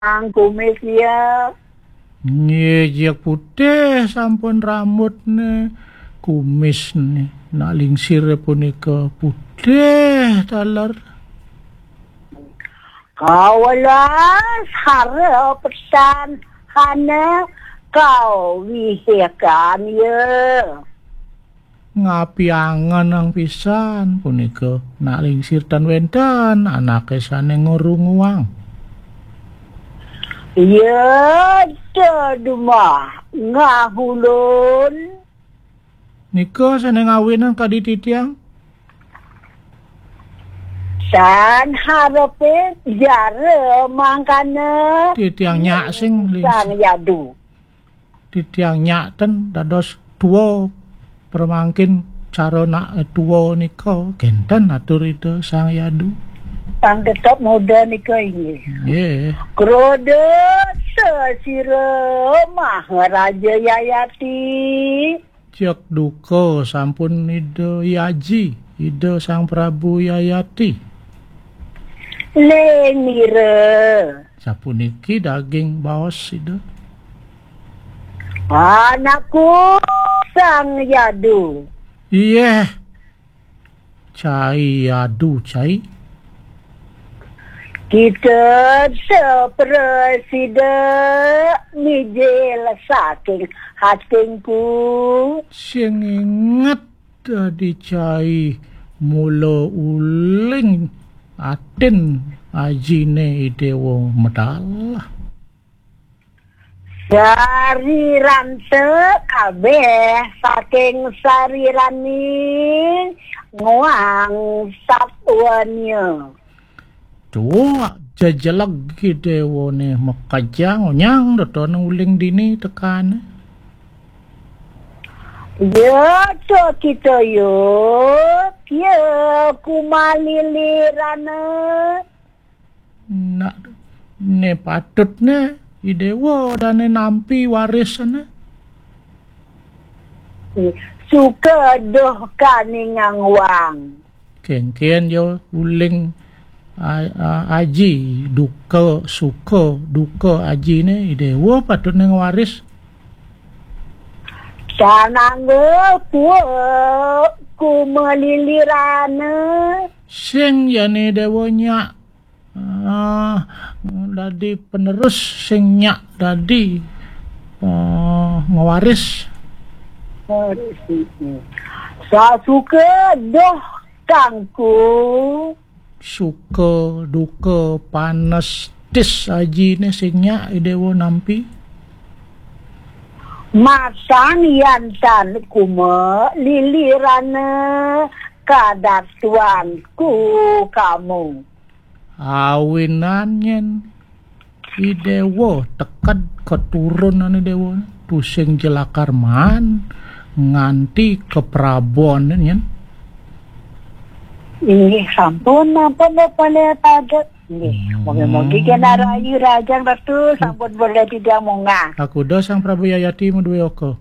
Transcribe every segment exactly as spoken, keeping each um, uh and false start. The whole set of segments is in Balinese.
Ang kumis ya. Nggih, jek putih sampun rambutne, kumisne. Nak lingsir punika putih taler. Kawelas hara pesan hana kawihikan ya. Ngapiangan ang pisan punika, nak lingsir tan wenten anake sane ngrunguang. Ya, dadumah ngahulun. Nika sane ngawinan kadi titiang? San harepe jara mangkana. Titiang nyak sing lingsir. Sang Yadu. Titiang nyak ten dados tua, pramangkin cara nak tua nika kenten atur Ida Sang Yadu. Sang tetep muda nika inggih. Nggih. Kroda sesira Maharaja Yayati. Cek duka sampun Ida Yaji, Ida Sang Prabu Yayati. Lenira. Sapuniki daging baos Ida. Anakku Sang Yadu. Iyeh. Cai Yadu, cai. Kita seprasida mijil saking hatingku. Sing inget dadi cai mula uling atin ajine Idewa medal. Sariranta kabeh saking sariraning nguang satwanya. Tuak jejeleg Idewane makejang onyang dotone uling dini tekane. Ya, to kita yo, ya kumalilirana. Nak ne patutne Idewa dane nampi warisane. Suka duh kaningang wang. Kengken yo uling a-, a-, aji, duka, suka, duka ajine Idewa patutne ngwaris. Sanangga kuwa kumalilirana. Sing jane Dewa nyak, ah, dadi penerus, sing nyak dadi, ah, ngwaris. Sasuka doh kangku. Suka duka panes tis ajine sing nyak Idewa nampi. Masang yan tan kuma lilirana kadatuanku kamu. Awinan nyen Idewa teked keturunane Dewa tusing jelakar maan nganti keprabon nyen. Inggih sampun, ampun Bapak Lehat Adat. Nggih, hmm, mogi-mogi kena rayu rajang Ratu, hmm, sampun boleh tidak munggah. Aku do Sang Prabu Yayati madue oka.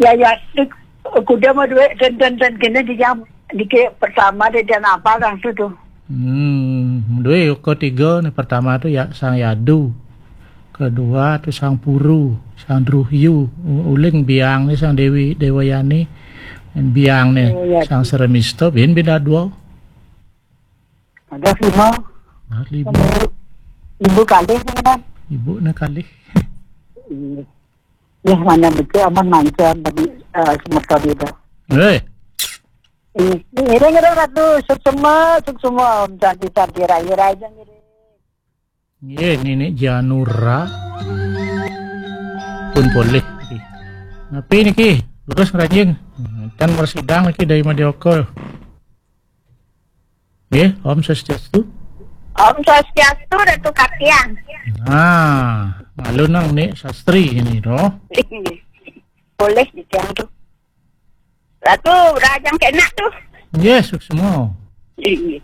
Yayati kuda madue ten ten ten kene di jam dike pertama de dan apa langsung tuh. Hmm, madue oka tiga nih, pertama tuh ya Sang Yadu. Kedua tuh Sang Puru, Sang Druhyu, u-, uling biang nih Sang Dewi Dewayani, biang nih. Oh, ya. Sang Sremista, bin beda dua. Ada lima. Nah, lima. Ibu kalih, kan? Ibu na kalih. Iya. Ya, mana betul aman lancar tadi, eh, semeton itu. Eh. Ini, ini ngiring Ratu, suksema, suksema, Om Santi, Santi, Rayu, Rayu, ngiring. Nggih, Nini Janura pun polih. Napi niki? Terus ngranjing. Ten mersidang niki dari Madya Oka. Nggih, Om Swastiastu. Om Swastiastu, Ratu Katiang. Nah, malu nang ni sastri ini doh. Boleh di tiang tu. Ratu, rajang kena tu. Nggih, suksema. Nggih.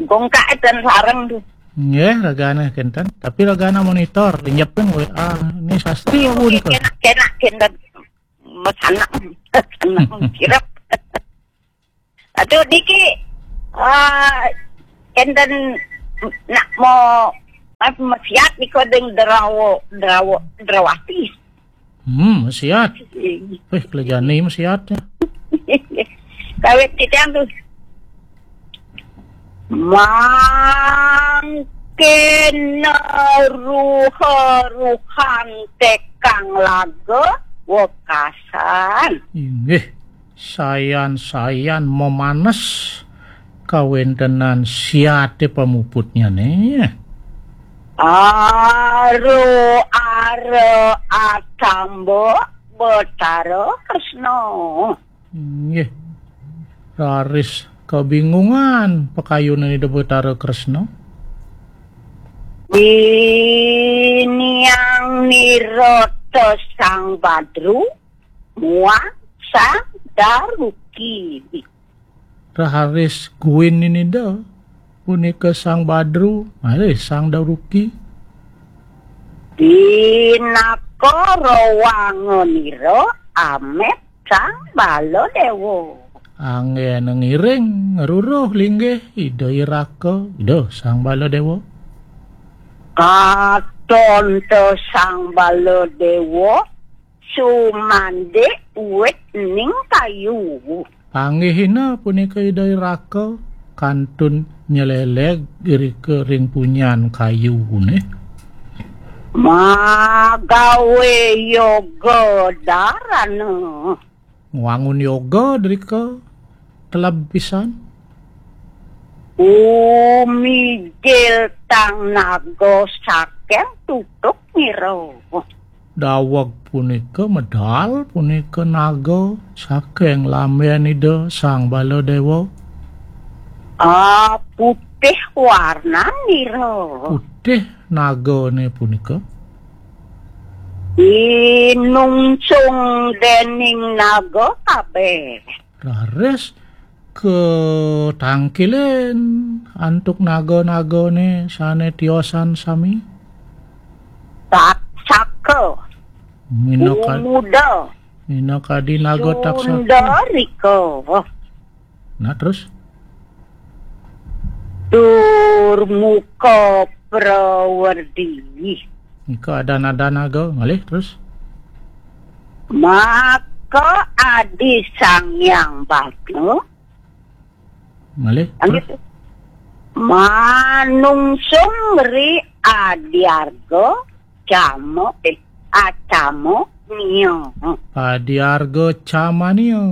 Gongkak dan sarang tu. Nggih, ragane kenten. Tapi ragane monitor, pinjepin W A. Ni sastri apa ni? Kena, kena, kena. Masanak. Masanak. Kirap. Aduh, niki, ah, enten nak mau Mesiat nika ding drawa, drawa, drawati. Hmm, mesiat. Weh, kelejane mesiat ya. Kawit titiang tuh. Mangkin ruha-ruhan tekang laga wekasan. Inggih, sayan-sayan memanes kawentenan siate pamuputnyane. Aro ara atamba Betara Kresna. Inggih. Raris kebingungan pakayunan Ida Betara Kresna. Diniang nirata Sang Badru muang Sang Daruki. Raris guin Ida punika Sang Badru, malih Sang Daruki. Pinaka rawanganira amet Sang Baladewa. Anggena ngiring ngruruh linggih Ida Iraka, Ida Sang Baladewa. Katon ta Sang Baladewa sumandik wit ning kayu. Panggihina punika Ida Iraka kantun nyeleleg irika ring punyan kayune. Magawe yoga darana. Ngwangun yoga drika teleb pisan. Umijil tang naga saking tutuk nira. Daweg punika medal punika naga saking lamben Ida Sang Baladewa. Ah, putih warnanira. Putih nagane punika. Inungsung dening naga kabeh. Raris katangkilin antuk naga-nagane sane tiosan sami. Saka. Minaka-, Umuda. Minakadi naga taksaka. Sundarika. Nah, terus? Tur muka prawerdi. Nika ada nada naga, ngalih terus. Maka adi Sang Hyang Bagna. Ngalih terus. Manungsung ri adiarga cama, eh, acama nia. Adiarga camania.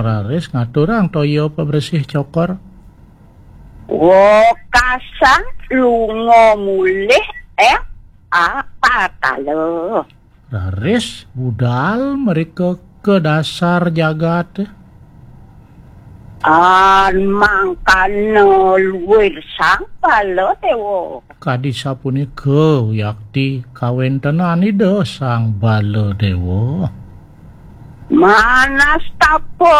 Raris ngaturang toya pabresih cokor. Wekasan lunga mulih ing apatala. Raris budal merika ka dasar jagat. An mangkana luir Sang Baladewa. Kadi sapunika yakti kawentenan Ida Sang Baladewa. Manastapa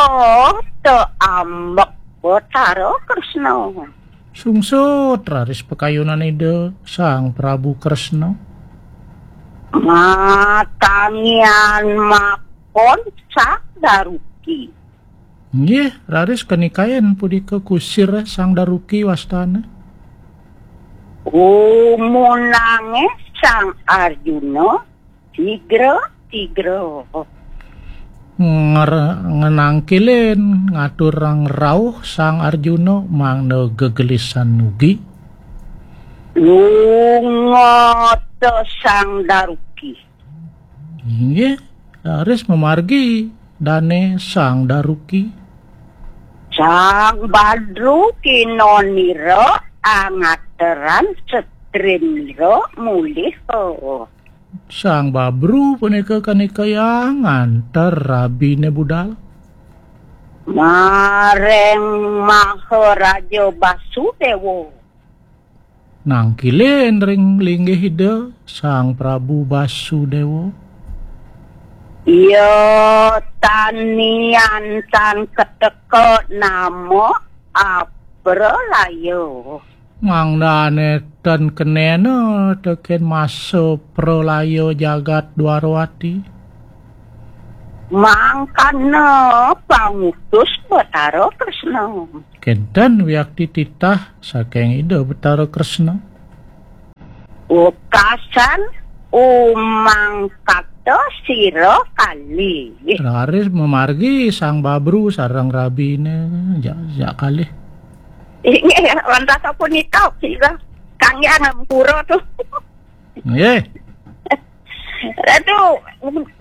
ta ambek Betara Kresna. Sungsut raris pakayunan Ida Sang Prabu Kresna. Matangian makon Sang Daruki. Nggih, raris kanikayan punika kusir Sang Daruki wastana. Umunange Sang Arjuna tigra-tigra. Nger-, ngenangkilin ngaturang rauh Sang Arjuna mangda gegelisan nugi. Lunga ta Sang Daruki. Inggih, raris mamargi dane Sang Daruki. Sang Badru kinonira angateran setrinira mulih. Sang Babru punika kanikayang nganter rabine budal. Mareng Maharaja Basudewa. Nangkilin ring linggih Ida Sang Prabu Basudewa. Iya tanian tan keteka nama apralaya. Mangdane tan kenena teken masa pralaya jagat Dwarawati. Mangkana pangutus Betara Kresna. Kenten wiakti titah saking Ida Betara Kresna. Wekasan umang kato sira kalih. Raris mamargi Sang Babru sareng rabine, ja, ja kalih. Inggih, wantah sapunika sira kangge ngampura tuh. Nggih. Aduh,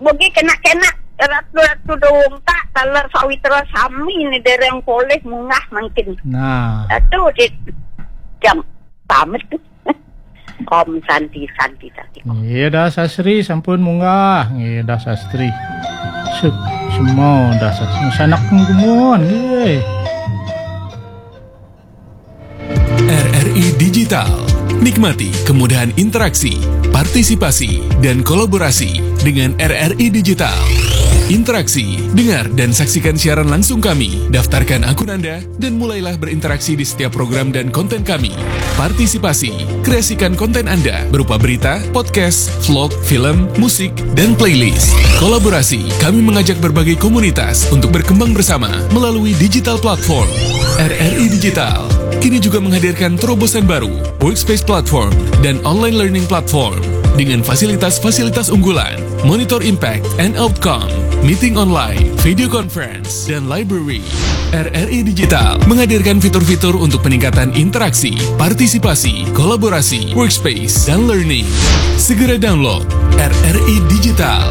mugi kenak-kenak ratu-ratu dongkak taler sawitra sami ni dereng polih munggah mangkin. Nah. Aduh, di jam pamit tuh. Om Santi, Santi, Santi. Nggih, dah sastri sampun munggah. Nggih, dah sastri. Sup, semua dah sastri. Sanak gumun, nggih. R R I Digital. Nikmati kemudahan interaksi, partisipasi, dan kolaborasi dengan R R I Digital. Interaksi, dengar dan saksikan siaran langsung kami. Daftarkan akun Anda dan mulailah berinteraksi di setiap program dan konten kami. Partisipasi, kreasikan konten Anda berupa berita, podcast, vlog, film, musik, dan playlist. Kolaborasi, kami mengajak berbagai komunitas untuk berkembang bersama melalui digital platform. R R I Digital kini juga menghadirkan terobosan baru, Workspace Platform dan Online Learning Platform dengan fasilitas-fasilitas unggulan, Monitor Impact and Outcome, Meeting Online, Video Conference, dan Library. R R I Digital menghadirkan fitur-fitur untuk peningkatan interaksi, partisipasi, kolaborasi, workspace, dan learning. Segera download R R I Digital.